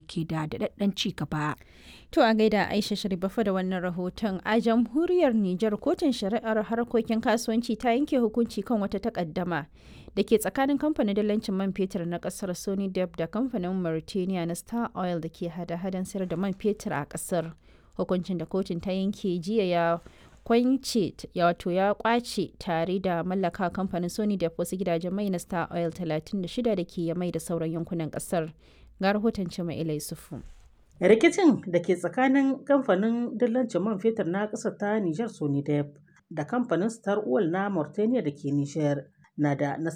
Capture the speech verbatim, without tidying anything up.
ke da daɗaɗɗen ci gaba. To a gaida Aisha Sharifafa da wannan rahoton. A jamhuriyar Nijar, kotun shari'ar harkokin kasuwanci ta yanke hukunci kan wata takaddama da ke tsakanin kamfanin dalancin man fetur na kasar Sony Dep da kamfanin Mauritania na Star Oil da ke hada-hadan sayar da man fetur a kasar. Hukuncin da kotun ta yanke jiya ya kwance, wato ya kwace tare da mallaka kamfanin Sony Dep wasu gidajen mai na Star Oil talatin da shida da ke mai da sauran yankunan kasar. Ga rahoton Cima Ilai Sufu. Rikicin da ke tsakanin kamfanin dillancin man fetur na ƙasar ta Nijar Sonidep da kamfanin Star Oil na Mauritania da ke Nijar na da